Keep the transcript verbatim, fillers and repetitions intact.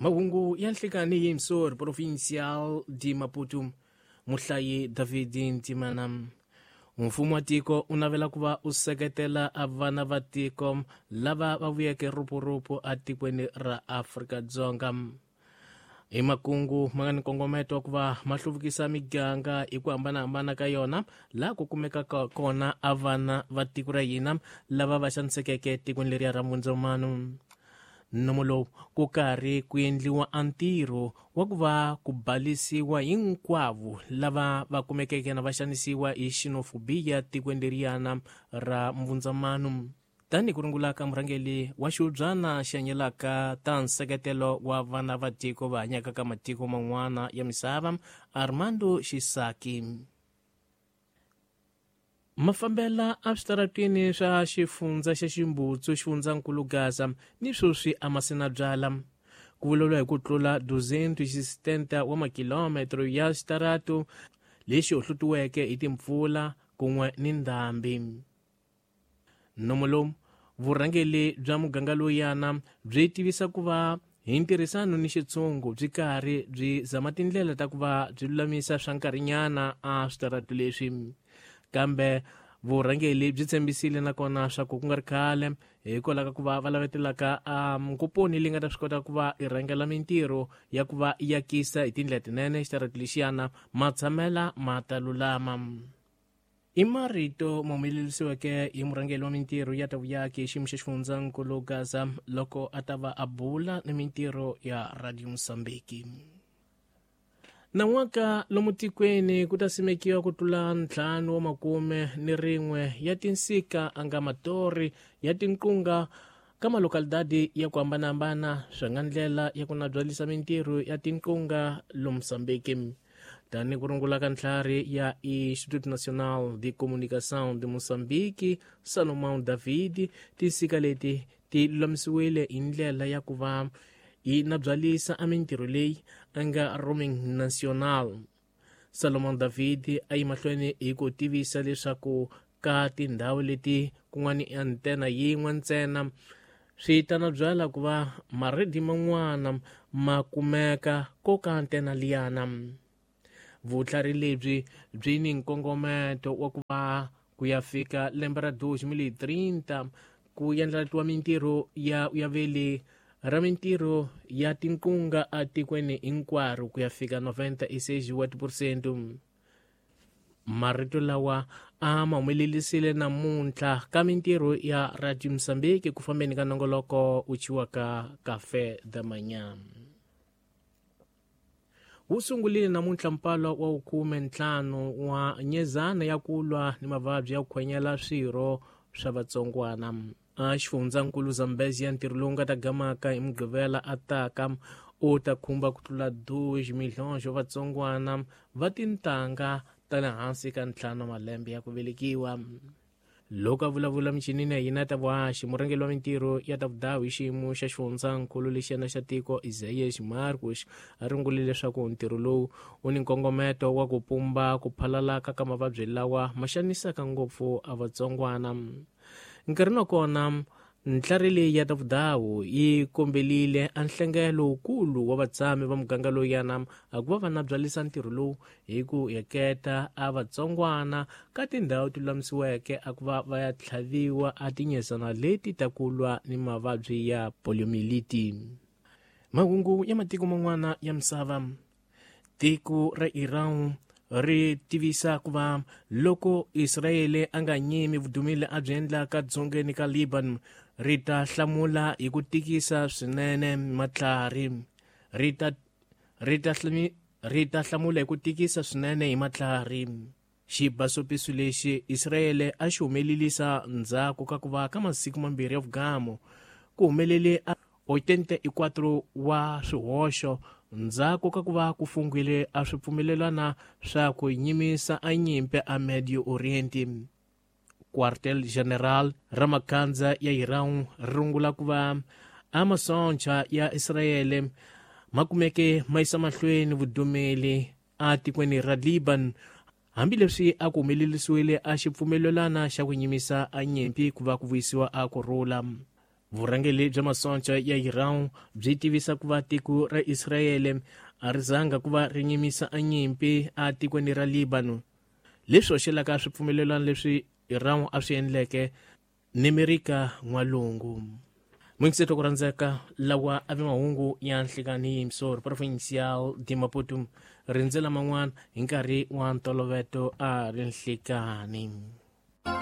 Mahungu ya nhlikani hi Msor Provincial de Maputo. Muhlayi David Ntimana. Mfumo wa tiko u navela ku va u seketela a vana va tiko lava va vuyeke rupuruphu atikweni ra Afrika-Dzonga. Hi makungu ma nga ni nkongometo wa ku va ma hluvukisa miganga hi ku hambanahambana ka yona laha ku kumekaka kona a vana va tiko ra hina lava va xanisekeke tikweni leriya ra Mundzomano. Nomo lowu ku karhi ku endliwa a ntirho wa ku va ku balisiwa hinkwavo lava va kumekeke na va xanisiwa hi xenophobia tikweni leriyana ra Mbundzamano. Tanihi ku rungula ka murhangeri wa xihubyana xi hanyelaka ta nseketelo wa vana va tiko va hanyaka ka matiko man'wana ya misava, Armando Xisaki. Mafambela a switaratwini swa xifundza xa Ximbutsu, xifundzankulu Gaza, ni sweswi a ma sina byala. Ku vulavuriwa hi ku tlula duzentos e setenta wa makilometro ya xitaratu lexi hohlutiweke hi timpfula kun'we ni ndhambi. Nomo lowu vurhangeri bya muganga lowuyana byi tivisa ku va hi ntirhisano ni xitshungu byi karhi byi zama tindlela ta ku va byi lulamisa swa nkarhinyana a switaratu leswi. Kambe vurhangeri byi tshembisile nakona swa ku ku nga ri khale hikwalaho ka ku va va lavetelaka a nkuponi leyi nga ta swi kota ku va i rhangela mintirho ya ku va i akisa hi tindlela tinene xitaratu lexiyana matshamela ma ta lulama. I marito ma humelerisiweke hi murhangeri wa mintirho ya ta vuyaki hi xiyimo xa xifundzankulu Gaza loko a ta va a bula ni mintirho ya Radio Mozambique. Nan'waka lomu tikweni ku ta simekiwa ku tlula ntlhanu wa makume ni rin'we ya tinsika a nga matori ya tinqunga ka malokalidadi ya ku hambanahambana swi nga ndlela ya ku nabyalisa mintirho ya tinqunga lomu Mozambique. Tanihi ku rungula ka ntlhari ya Instituto Nacional de Comunicação de Moçambique, Salomão David, tinsika leti ti lulamisiwile hi ndlela ya ku va yi nabyalisa a mintirho leyi a nga roaming national. Salomão David a yi mahlweni hi ku tivisa leswaku ka tindhawu leti ku nga ni antena yin'we ntsena swi ta nabyala ku va maredi man'wana ma kumeka ko ka antena liyana. Vutlhari lebyi byi ni nkongometo wa ku va ku ya fika lembe ra dois mil e trinta ku endlatiwa mintirho ya ya vele ra mintirho ya tinqunga atikweni hinkwaro ku ya fika noventa e seis wa tiphesente. Marito lawa a ma humelerisile namuntlha ka mintirho ya Radio Mozambique ku fambeni ka nongoloko wu thyiwaka Café da Manhã. Wu sungurile namuntlha mpalo wa khume ntlhanu wa nyezana ya ku lwa ni mavabyi ya ku khwenyela swirho swa vatsongwana. A xifundzankulu Zambezia ntirho lowu nga ta gamaka hi Mugqivela a taka u ta khumba ku tlula dois milhões wa vatsongwana va tintangha ta le hansi ka ntlhanu malembe ya ku velekiwa. Loko a vulavula michinini ya hina ta vuhaxi, murhangeri wa mintirho ya ta vudawu hi xiyimo xa xifundzankulu lexiyana xa tiko Isaías Marcos a rungule leswaku ntirho lowu wu ni nkongometo wa ku pumba ku phalalaka ka mavabyi lawa ma xanisaka ngopfu a vatsongwana. Nkarhini wa kona ntlhari leyi ya ta vudawu yi kombelile a nhlengelo wukulu wa vatshami va muganga lowuyana a ku va va nabyalisa ntirho lowu hi ku heketa a vatsongwana ka tindhawu ti lulamisiweke a ku va va ya tlhaviwa a tinyezana leti ta ku lwa ni mavabyi ya poliomyeliti. Mahungu ya matiko man'wana ya misava. Tiko ra Iran ri tivisa ku va loko Israele a nga nyimi vudumile a byi endlaka dzongeni ka Lebanon ri ta hlamula hi ku tikisa swinene matlhari. Ri ta ri ta ri ta hlamula hi ku tikisa swinene hi matlhari. Xibasopiso lexi Israele a xi humelelisa ndzhaku ka ku va ka masiku mambirhi ya vugamu ku humelele a oitenta e quatro wa swihoxo ndzhaku ka ku va ku fungwile a swi pfumelelana swa ku nyimisa a nyimpi a Medio Oriente. Quartel General ra makhandza ya Iran ri rungula ku va a masoncha ya Israele ma kumeke ma yisa mahlweni vudumeli a tikweni ra Lebanon hambileswi a ku humelerisiwile a xipfumelelana xa ku nyimisa a nyimpi ku va ku vuyisiwa a ku rhula. Vurhangeri bya masoncha ya Iran byi tivisa ku va tiko ra Israyele a ri zanga ku va ri nyimisa a nyimpi a tikweni ra Lebanon, leswi hoxelaka swipfumelelano leswi Iran a swi endleke ni Amerika N'walungu. Mwingiseto ku rhandzeka lawa a vi mahungu ya nhlikani yimsori provincial de Maputo, rindzela man'wana hi nkarhi wa ntoloveto a ri nhlikani.